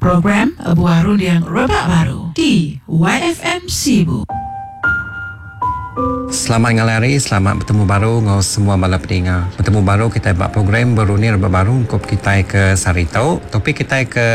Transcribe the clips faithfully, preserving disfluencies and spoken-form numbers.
Program Buah Runding Rebak Baru di Y F M Sibu. Selamat ngalih hari, selamat bertemu baru dengan semua bala peninga. Bertemu baru kita buat program Berunding Rebak Baru untuk kita ke Sarito. Topik kita ke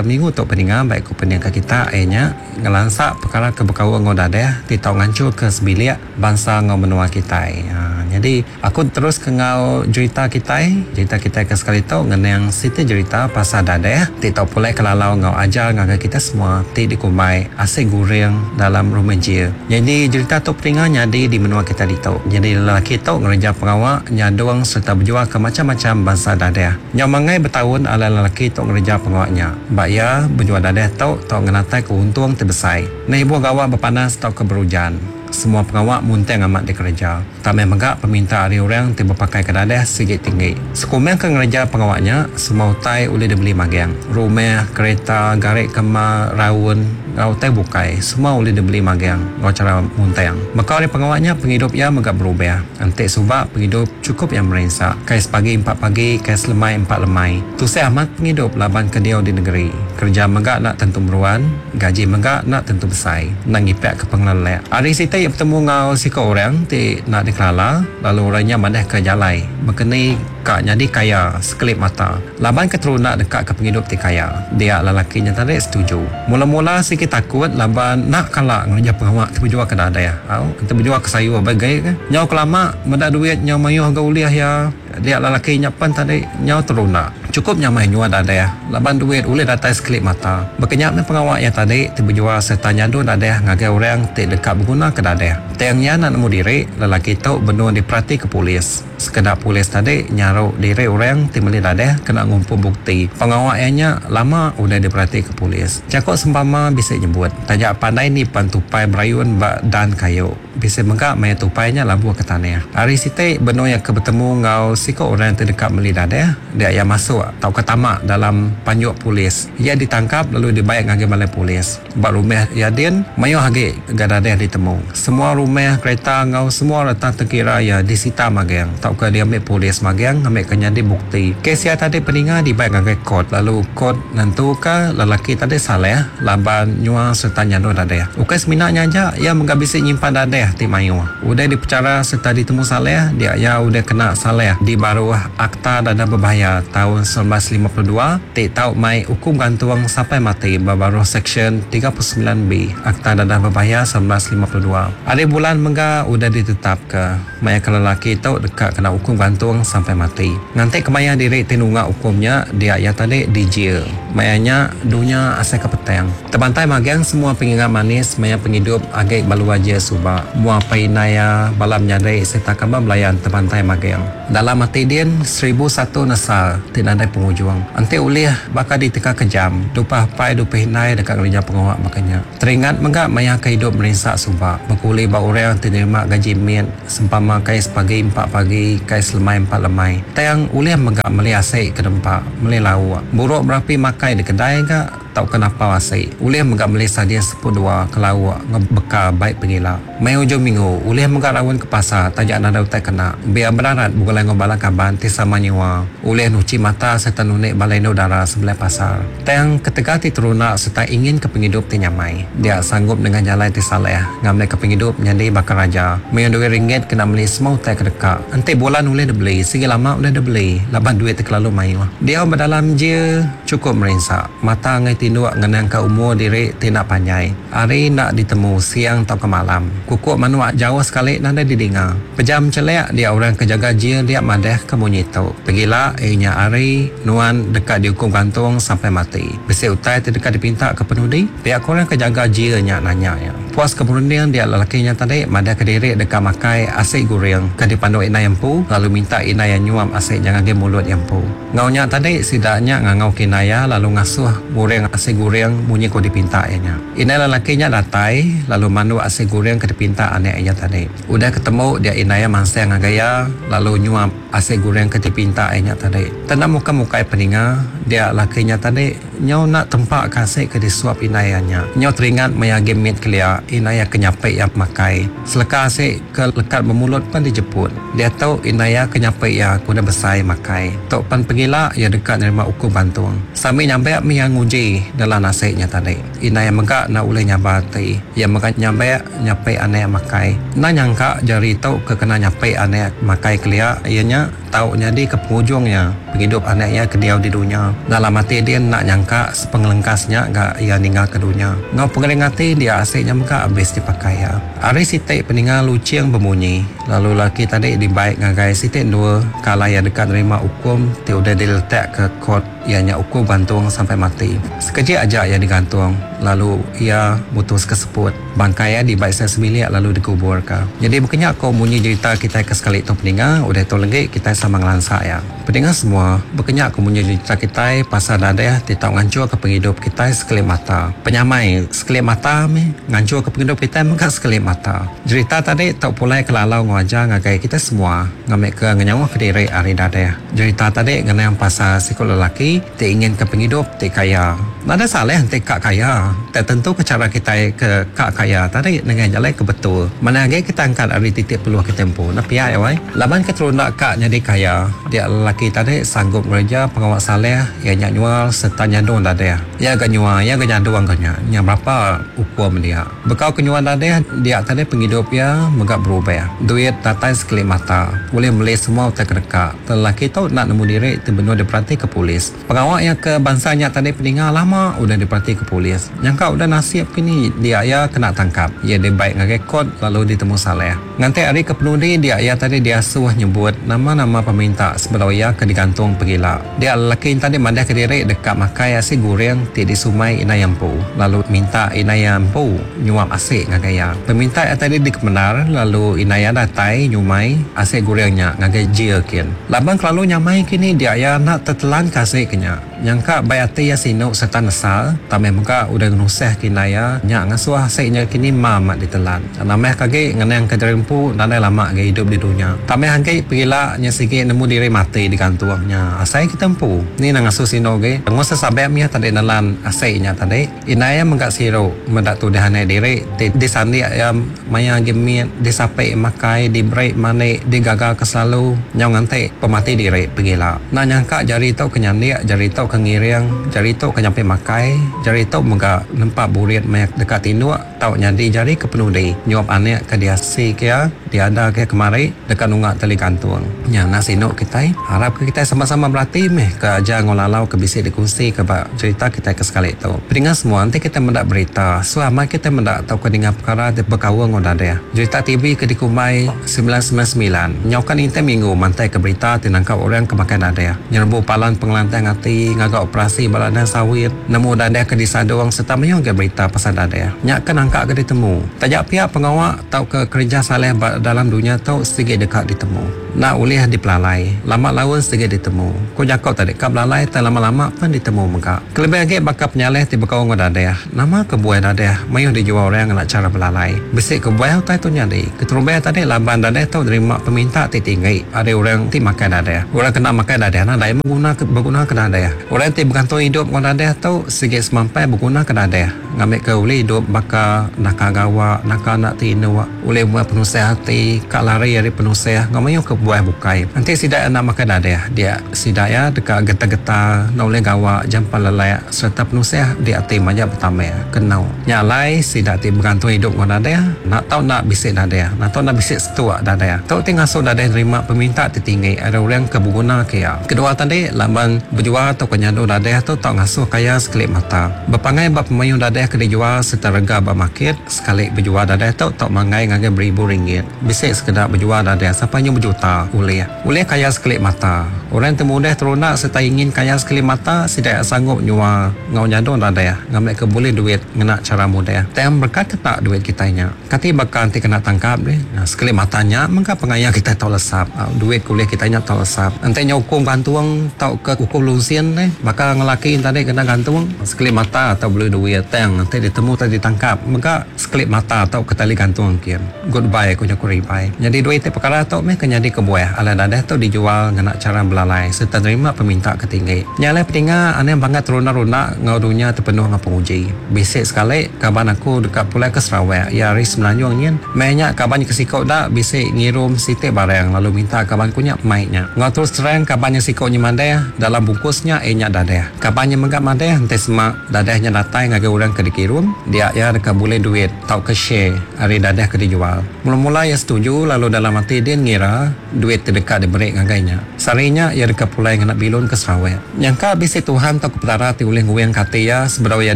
minggu tu peninga, baik ku peninga kita ianya ngelansak perkara ke berkaul ngau dadah ti tau ngancur ke sebilik bangsa ngau menua kita. Ha, jadi aku terus ke ngau cerita kita, cerita kita ke sekali tu ngenang siti cerita pasal dadah ti tau pulai kelalau ngau ajar ngagai kita semua ti dikumbai asik goreng dalam rumah jil. Jadi cerita tu peninga nyadi di menua kita ditu. Jadi lelaki tu ngereja pengawak nyadung serta berjual ke macam-macam bangsa dadah. Nyau mangai bertahun ala lelaki tu ngereja pengawaknya. Bak ya berjual dadah tu tau ngenatai keuntung terbesar. Nah ibu gawak berpanas tau ke berujan. Semua pengawak munteng amat dikerja. Tamai megak peminta ari orang ti berpakai ke dadah sigit tinggi. Sekumeng ke ngereja pengawaknya, semua utai boleh dibeli magang. Rumah, kereta, garik kema, raun, ngau utai bukai, semua boleh dibeli magang ngau cara munteng. Maka ari pengawaknya penghidup ia megak berubah. Entik subak penghidup cukup yang merinsak. Kais pagi empat pagi, kais lemai empat lemai. Tusah amat penghidup laban ke dia di negeri. Kerja megak nak tentu meruan, gaji megak nak tentu besar. Nak ngipek ke pengelelek. Ari siti ia bertemu ngau siko orang ti nak dikelala, lalu orangnya madah ke jalai. Berkeni kak jadi kaya sekelip mata. Laban keterunak dekat ke penghidup ti kaya. Dia lelakinya tadi setuju. Mula-mula sikit takut laban nak kalak ngereja pengawak ti berjual ke dadah. Au, kita berjual ke sayur bagai ke. Nyau kelama medak duit nyau mayuh ga uliah ya. Dia lelakinya pan tadi nyau terunak. Cukup nyamai nyua dadah. Laban duit ulih datai sekelip mata. Berkenyak me pengawak ya tadi ti berjual serta nyadu dadah ngagai orang ti dekat berguna ke dadah. Tiangnya nak nemu diri, lelaki tu benua diperhati ke polis. Sekedar polis tadi nyaruk diri orang ti meli dadah kena ngumpul bukti. Pengawaknya lama udah diperhati ke polis. Cakap sempama bisa nyebut. Tajak pandai ni pan tupai berayun bak dan kayu. Bisa menggak maya tupainya labuh ke tanah. Hari siti benua yang ke bertemu ngau siko orang ti dekat meli dadah, dia yang masuk tau ke tamak dalam panjuk polis. Ia ditangkap lalu dibayar ngagai balai polis. Bak rumah ia din mayuh agi gadadah ditemu. Semua rumah, kereta ngau semua letak terkira ia disita magang. Tau ke dia ambil polis magang ambil ke nyadi bukti. Kes ia tadi peninga dibayar ngagai court. Lalu court nentuka lelaki tadi salah laban nyua serta nyadu dadah. Ukai seminaknya aja ia menggabisi nyimpan dadah ti mayuh. Udah dipercara serta ditemu salah, dia ia udah kena salah di baruh Akta Dadah Berbahaya tahun seribu sembilan ratus lima puluh dua ti tau mai hukum gantung sampai mati baruh seksyen tiga puluh sembilan B Akta Dadah Berbahaya seribu sembilan ratus lima puluh dua. Hari bulan mengga udah ditetap ke maya ke lelaki tu dekat kena hukum gantung sampai mati. Nganti kemaya diri ti nunggak hukumnya dia ia tadi di jail. Mayanya dunia asal ke petang. Terbantai magang semua pengingat manis maya penghidup agak balu aja subak. Mua painaya balam nyadai serta kaba belayan terbantai magang. Dalam mati din seribu satu nesal ti nadai penghujung. Enti ulih bakal diteka kejam. Dupah pai dupah inai dekat ngereja pengawak makanya. Teringat menggak maya ke hidup merinsak subak. Berkuli ba orang ti nerima gaji mian sempama kais pagi empat pagi kais lemai empat lemai. Tang ulih menggak meli asik ke dempak, meli lauk. Buruk berapi makai di kedai gak tau kenapa asik. Ulih menggak meli sardin sepuluh dua ke lauk ngebekal baik pengila. Mai hujung minggu ulih menggak rawon ke pasar tajak nada utai kena. Biar berarat bukan ngau bala kaban ti sama nyawa. Ulih nuci mata serta nunik balai udara sebelah pasar. Tang ketika ti terunak serta ingin ke penghidup ti nyamai. Dia sanggup dengan jalan ti saleh. Ngambil ke penghidup nyadi bakal raja. Mayu duit ringgit kena beli semua utai ke dekat. Enti bulan ulih dibeli, segi lama ulih dibeli. Laban duit terlalu mayu. Dia berdalam je cukup merinsak. Mata ngai tinduk ngenang ke umur diri ti nak panjai. Hari nak ditemu siang atau ke malam. Kukuk manuak jauh sekali nanda didinga. Pejam celek dia orang kejaga jil dia madah ke bunyi tu. Pergilah ianya hari nuan dekat dihukum gantung sampai mati. Besi utai ti dekat dipinta ke penudi. Pihak orang kejaga jilnya nanya ya. Puas ke berunding dia lelakinya tadi madah ke diri dekat makai asik goreng ke dipandu inai empu lalu minta inai yang nyuap asik jangan ge mulut empu. Ngaunya tadi sidaknya ngangau kinaya lalu ngasuh goreng asik goreng bunyi ko dipinta ianya. Inai lelakinya datai lalu mandu asik goreng ke dipinta anak ianya tadi. Udah ketemu dia inai mansang ngagaya lalu nyuap asik goreng ke dipinta ianya tadi. Tanda muka-muka peninga dia lakinya tadi Nyau nak tempak kasih ke disuap inayanya. Nyau teringat maya gemit kelia inaya kenyapai yang makai. Seleka asik ke lekat bermulut pun dijemput. Dia tahu inaya kenyapai ya kuda besai makai. Tok pan pegila ia dekat nerima ukur bantung. Sami nyampe mi yang nguji dalam nasiknya tadi. Inaya megak nak uleh nyabati. Ia megak nyampe nyapai aneh makai. Na nyangka jari tau ke kena nyapai aneh makai kelia ianya tau nyadi ke penghujungnya penghidup anaknya ke diau di dunia. Dalam hati dia nak nyangka sepengelengkasnya gak ia ninggal ke dunia. Ngau pengering hati dia asiknya mega habis dipakai ya. Hari sitik peninggal lucing berbunyi. Lalu laki tadi dibaik ngagai sitik dua kala ia dekat nerima hukum ti udah diletak ke kot ianya hukum gantung sampai mati. Sekejap aja ia digantung lalu ia mutus keseput. Bangkai ia dibaik saya sebilik lalu dikubur ke. Jadi bukannya kau bunyi cerita kita ke sekali tu peninggal udah tu lagi kita sama ngelansak ya. Pendengar semua, berkenyak aku punya cerita kita pasal dadah ti tau ngancur ke penghidup kita sekelip mata. Penyamai sekelip mata mi ngancur ke penghidup kita mengkat sekelip mata. Cerita tadi tau pulai ke lalau ngajar ngagai kita semua ngambil ke ngenyawa ke diri hari dadah. Cerita tadi ngenang pasal sikut lelaki ti ingin ke penghidup ti kaya. Nada salah ti kak kaya. Tak tentu ke cara kita ke kak kaya tadi dengan jalan ke betul. Mana lagi kita angkat hari titik peluh ke tempo. Nak pihak ya wai. Laban ke terundak kak jadi kaya. Dia lelaki tadi sanggup bekerja pengawal saleh ia nyak nyual serta nyadung dadah. Ia ga nyual, ia ga nyadung ka nya. Nya berapa hukum dia. Bekau kenyuan dadah dia tadi penghidup ia megak berubah. Duit datai sekelip mata. Boleh beli semua utai kedekak. Lelaki tu nak nemu diri terbenur diperhati ke polis. Pengawal yang ke bangsa nyak tadi peninggal lama udah diperhati ke polis. Nyangka udah nasib kini dia ia kena tangkap. Ia dibaik ngagai kot lalu ditemu saleh. Nganti hari ke penudi dia ia tadi dia suah nyebut nama-nama peminta sebelum ia ke digantung pergila. Dia lelaki tadi mandah ke diri dekat makai asi goreng ti di sumai inayampu. Lalu minta inayampu nyuap asik ngagai ia. Peminta ia tadi dikemenar lalu inaya datai nyumai asik gorengnya ngagai jil kin. Laban kelalu nyamai kini dia ia nak tertelan kasih kenya. Nyangka bayati ia sinuk serta nesal tameh muka udah nuseh kinaya nyak ngasuh asiknya kini mamat ditelan. Nameh kage ngenang ke derempu nadai lama ge hidup di dunia. Tameh hangke pergila nya sikit nemu diri mati digantungnya. Asai kita empu. Ni nang ngasuh sino ge. Ngusa sabek mia tadi nelan asiknya tadi. Inaya menggak siru mendak tu dehane diri di, di sandi ya maya gemit disape makai diberi manik digagal ke selalu nyau nganti pemati diri pergila. Nah nyangka jari tau kenyandik jari tau kengiring jari tau kenyampe makai jari tau menggak nempak burit mayak dekat tinduk tau nyadi jari ke penudi nyuap anek ke dia si kia dia ada ke kemari dekat nunggak tali gantung. Nya nasi nok kita harap ke kita sama-sama berlatih meh ke aja ngolalau ke bisik dikongsi ke bak cerita kita ke sekali tu. Pendengar semua nanti kita mendak berita selama kita mendak tau ke dengar perkara di berkawang ngoda dia. Cerita T V ke dikumbai sembilan sembilan sembilan. Nyaukan intai minggu mantai ke berita tinangkap orang ke makan dadah. Nyerbu palan pengelantang hati ngagak operasi baladan sawit nemu dadah ke disadong serta menyong ke berita pasal dadah. Nyak ke nangkak ke ditemu. Tajak pihak pengawak tau ke kerja saleh dalam dunia tau sedikit dekat ditemu. Nak ulih dipelalai. Lama laun sedikit ditemu. Ko jakop tadi kap lalai tak lama-lama pun ditemu megak. Kelebih lagi bakal penyaleh ti bekau ngau dadah. Nama kebuai dadah mayuh dijual orang nak cara belalai. Besik kebuai utai tu nyadi. Keterubah tadi laban dadah tau terima peminta ti tinggi. Ada orang ti makan dadah. Orang kena makan dadah nah dai mengguna berguna ke dadah. Orang ti bergantung hidup ngau dadah tau sikit semampai berguna ke dadah. Ngambil ke uli hidup baka nakagawa, naka nak tinu, oleh buat penusah hati, kak lari dari penusah, ngamayuh ke buah bukai. Nanti sidak nak makan dadah, dia sidak ya dekat getah-getah, nak oleh gawak, jampan lelak, serta penusah di hati banyak pertama kenau. Nyalai sidak ti bergantung hidup ngau dadah, nak tahu nak bisik dadah, nak tahu nak bisik setua dadah. Tahu ti ngasuh dadah terima peminta ti tinggi, ada orang ke berguna ke ya. Kedua tadi laban berjual atau kenyadu dadah tu tak ngasuh kaya sekelip mata. Berpangai bab pemayung dadah ke dijual serta rega bab market sekali berjual dadah tu tak mangai ngagai beribu ringgit. Bisik sekedar berjual dadah sampai nyu berjuta ulih. Ulih kaya sekelip mata. Orang termudah terunak serta ingin kaya sekelip mata tidak sanggup nyua ngau nyadong dadah ngambil ke boleh duit ngena cara mudah. Tem berkat ke tak duit kita nya. Kati bakal nanti kena tangkap deh. Nah, sekelip matanya mengka pengaya kita tahu lesap. Duit kuliah kita nya tahu lesap. Ente nyokong gantung tau ke hukum lusin deh. Bakal ngelaki tadi kena gantung sekelip mata atau beli duit teng gantung enti ditemu tau ditangkap mega sekelip mata tau ke tali gantung kin. Goodbye ku jaku ribai. Nyadi dua iti pekara tu meh ke nyadi kebuah alai dadah tu dijual ngena chara belalai sereta nerima peminta ke tinggi. Nya alai peninga anang bangat terunda-runda enggau dunya ti penuh enggau penguji. Bisi sekali kaban aku deka pulai ke Sarawak iya ari Semenanjung nyin. Meh nya kaban ke siku da bisi ngirum siti barang lalu minta kaban ku nya mai nya. Enggau terus terang kaban nya siku nya madah dalam bungkus nya iya nya dadah. Kaban nya mega madah enti sema dadah nya datai ngagai orang ke dikirum dia iya deka bulih duit tauka share ari dadah ke dijual. Mula-mula iya setuju lalu dalam ati din ngira duit ti deka diberi ngagai nya. Sehari nya iya deka pulai ngena bilun ke Sarawak. Nyangka bisi Tuhan tauka Petara ti ulih nguingka ati iya sebedau iya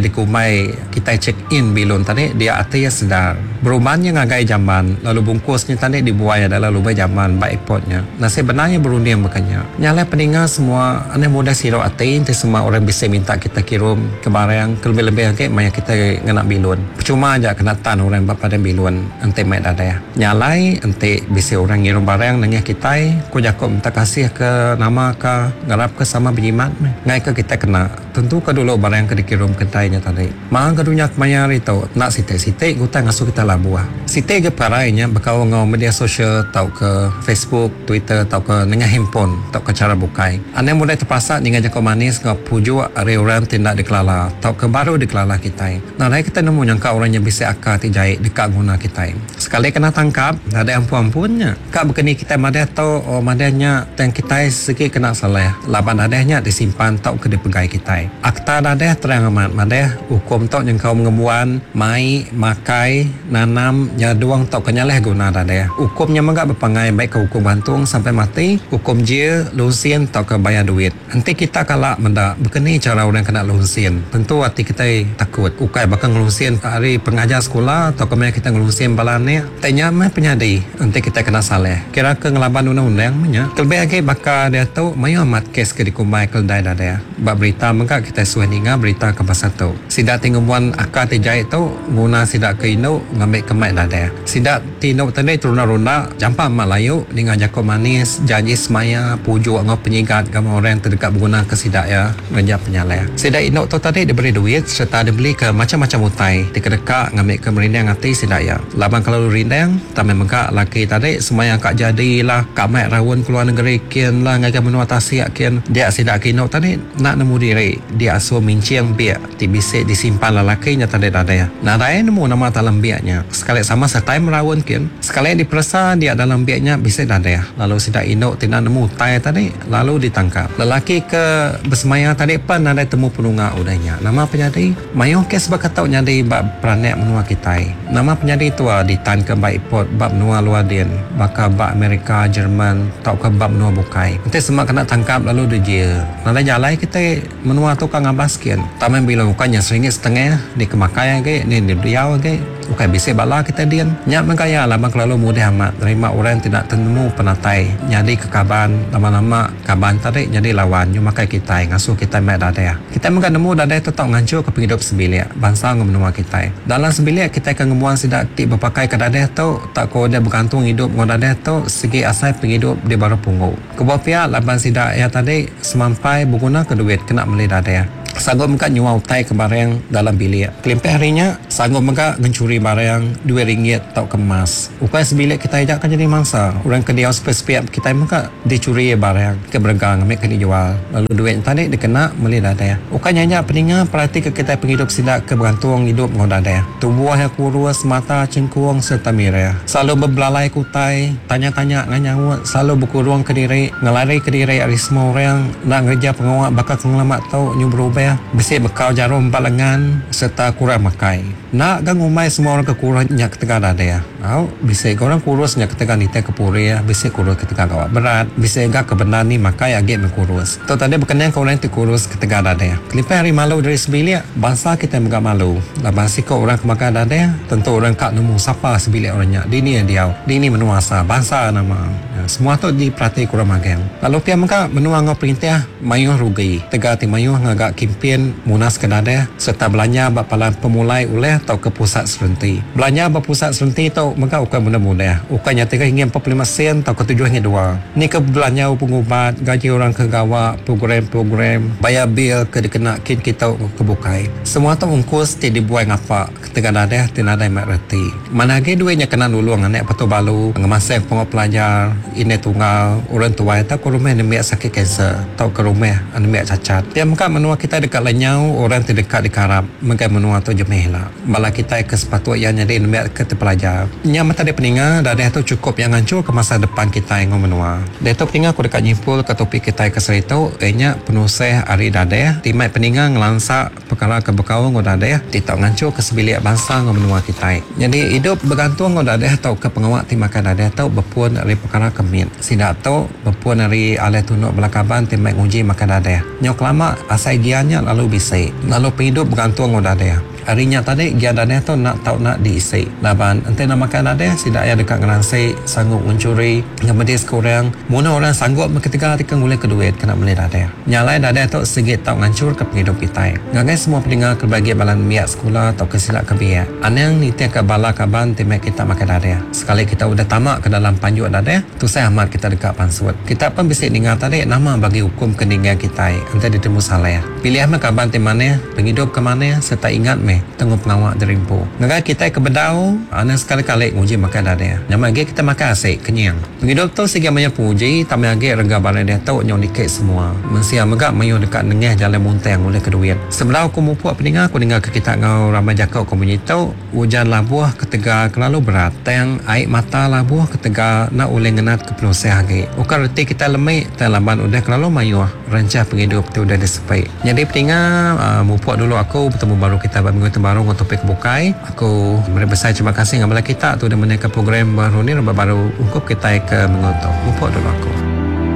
dikumbai kitai check in bilun tadi dia ati iya sedar. Berumban nya ngagai jamban lalu bungkus nya tadi dibuai dalam lubang jamban ba airport nya. Nasib bendar iya berunding baka nya. Nya alai peninga semua anang mudah sirau ati enti semua orang bisi minta kita kirum ke barang ke lebih-lebih agi maya kita ngena bilun. Percuma aja kena tan orang ba padang bilun enti mai dadah. Nya alai enti bisi orang ngirum barang nengah kitai ku jaku minta kasih ke nama ke ngarap ke sama berjimat meh. Ngai ke kita kena tentu ke dulu barang ke dikirum kitai nya tadi. Maha ke dunya kemaya hari tu nak siti-siti gutang ngasuh kita labuh. Siti ke perkara nya bekau ngau media sosial tau ke Facebook, Twitter tau ke nengah handphone tau ke cara bukai. Anang mudah terpaksa ninga jaku manis ngau pujuk ari orang ti ndak dikelala tau ke baru dikelala kitai. Nadai kita nemu nyangka orang yang bisi akal ti jai dekat guna kitai. Sekali kena tangkap, nadai ampun-ampunnya. Kak begini kita madah tu oh madahnya tang kitai segi kena salah. Laban adahnya disimpan tau ke dipegai kitai. Akta dadah terang amat madah hukum tu nyengkau mengembuan, mai, makai, nanam, nyaduang tau ke nyaleh guna dadah. Hukumnya mega berpangai baik ke hukum gantung sampai mati, hukum jail, lunsin tau ke bayar duit. Enti kita kalak mendak begini cara orang kena lunsin, tentu hati kita takut. Ukai bakal ngelunsin hari pengajar sekolah atau kemaya kita ngelunsin bala ni. Tanya meh penyadi enti kita kena salah. Kira ke ngelaban undang-undang menya. Kelebih lagi bakal dia tu mayu amat kes ke dikumbai keledai dadah. Bab berita mega kita suah ninga berita ke pasal tu. Sidak ti ngembuan akal ti jai tu guna sidak ke indu ngambil ke mai dadah. Sidak ti indu tadi terunda-runda jampak mak layu ninga jaku manis, janji semaya, pujuk ngau penyigat gama orang terdekat berguna ke sidak ya ngereja penyalah. Sidak indu tu tadi diberi duit serta dibeli ke macam-macam utai ti kedeka ngambil ke merindang ati sidak ya. Laban kalau rindang tamai mega laki tadi semaya kak jadilah kak mai raun keluar negeri kian lah ngagai menua tasik kian. Dia sidak ke indu tadi nak nemu diri dia asuh mincing biak ti bisi disimpan lelaki nya tadi dadah. Nadai nemu nama dalam biaknya. Sekali sama sertai meraun kian. Sekali diperesa dia dalam biaknya bisi dadah. Lalu sidak indu ti nak nemu utai tadi lalu ditangkap. Lelaki ke bersemaya tadi pan nadai temu penunga udahnya. Nama penyadi mayuh kes bakatau nyadi bab peranak menua kitai. Nama penyadi tua ditan ke baik port bab menua luar din baka bab Amerika, Jerman tau ke bab menua bukai. Nanti semua kena tangkap lalu dijil. Nadai jalai kita menua tu kan ngabas kian. Taman bila bukannya seringgit setengah ni kemakai lagi ni diau lagi. Bukan bisi bala kita din. Nyak mengkaya lama kelalu mudah amat terima orang tidak temu penatai. Jadi kekaban lama-lama kaban tadi jadi lawan nyu makai kita ngasuh kita mek dadah. Kita mengka nemu dadah tetap ngancur ke penghidup sebilik bangsa ngau menua kita. Dalam sebilik kita akan ngemuan sidak ti berpakai ke dadah tu tak ko dia bergantung hidup ngau dadah tu segi asai penghidup di baru punggu. Kebuah pihak laban sidak ya tadi semampai berguna ke duit kena beli dadah. Sanggup mega nyual utai ke barang dalam bilik. Kelimpah harinya sanggup mega ngencuri barang dua ringgit atau kemas. Ukai sebilik kita ajak kan jadi mangsa. Orang ke dia spesial kita mega dicuri barang ke bergang ambil ke dijual. Lalu duit tadi dikena beli dadah. Ukai nyanyak peninga perhati ke kita penghidup sidak ke bergantung hidup ngau dadah. Tubuh yang kurus, mata cengkuang serta merah. Selalu berbelalai kutai, tanya-tanya nganyaut, selalu berkurung ke diri, ngelari ke diri ari semua orang nak ngerja pengawak bakal kengelamat tau nyu berubah. Besi bekal jarum empat lengan serta kurang makai. Nak gang umai semua orang kekurang nyak ketegal dadah. Au, bisi orang kurus nyak ketegal nite kepuri, bisi kurus ketegal gawat berat, bisi gak kebenar ni makai agi mengkurus. Tu tadi berkenaan ke orang ti kurus ketegal dadah. Kelimpah hari malu dari sebilik, bangsa kita mega malu. Laban siko orang kemakan dadah, tentu orang kak nemu siapa sebilik orangnya. Dini yang diau, dini menuasa bangsa nama. Ya, semua tu diperhati kurang magang. Lalu pia mega menua ngau perintah mayuh rugi. Tegal ti mayuh ngagak kimpin munas ke dadah serta belanja bak palan pemulai oleh atau ke pusat serenti. Belanja bak pusat serenti tu tu mega ukai mudah-mudah. Ukai nya tiga hingga empat puluh lima sen atau ke tujuh hingga dua. Ni ke belanja pengubat, gaji orang ke gawa, program-program, bayar bil ke dikena kin kita ke bukai. Semua tu ungkus ti dibuai ngapa ketegal dadah ti nadai mak reti. Mana agi duitnya kena nulung anak patu balu, ngemasang pengok pelajar, ini tunggal, orang tua atau ke rumah nembiak sakit kanser atau ke rumah nembiak cacat. Dia mega menua kita dekat lenyau orang ti dekat dikarap megai menua tu jemih lah. Bala kita ke sepatut yang jadi nembiak ke terpelajar. Nya mata dia peninga dadah tu cukup yang hancur ke masa depan kita yang menua. Dia tu peninga aku dekat nyimpul ke topik kita ke seritu, ianya penusah ari dadah timai peninga ngelansa perkara ke bekau ngau dadah ti tau ngancur ke sebilik bangsa ngau menua kita. Jadi hidup bergantung ngau dadah atau ke pengawak ti makan dadah tu berpun dari perkara kemit. Sidak tu berpun dari alih tunuk belakaban timai nguji makan dadah. Nyok lama asai giannya lalu bisik. Lalu penghidup bergantung ngau dadah. Harinya tadi gian dadah tu nak tau nak diisi. Laban ente nak makan dadah sidak ya dekat ngeransi sanggup mencuri ngemedis ke orang. Muna orang sanggup ketika tika ngulih ke duit kena beli dadah. Nyalai dadah tu segit tau ngancur ke penghidup kita. Ngagai semua pendengar kebahagiaan balan miak sekolah atau kesilak kebiak. Anang nitia ke bala kaban timek kita makan dadah. Sekali kita udah tamak ke dalam panjuk dadah, tu saya amat kita dekat pansut. Kita pun bisa dengar tadi nama bagi hukum keninggan kita. Ente ditemu salah. Pilih mah kaban ti mana, penghidup ke mana serta ingat meh tengok pengawak derimpu. Ngagai kita ke bedau, anang sekali-kali nguji makan dadah. Nama lagi kita makan asik kenyang. Penghidup tu segi banyak puji, tambah lagi rega balai dia tu nyong dikit semua. Mensia megak mayu dekat nengah jalan muntang oleh ke duit. Sebelah aku mupuk peninga aku dengar ke kita ngau ramai jakau komuniti tu, hujan labuh ketegal kelalu berat. Tang air mata labuh ketegal nak oleh ngenat ke penusah lagi. Bukan reti kita lemik, tang laban udah kelalu mayu rencah penghidup tu udah disepai. Jadi peninga uh, mupuk dulu aku bertemu baru kita minggu baru untuk topik bukai. Aku beri besar terima kasih ngabala kita tu dah menaikkan program baru ni baru ungkup kita ke minggu tu. Mupuk dulu aku.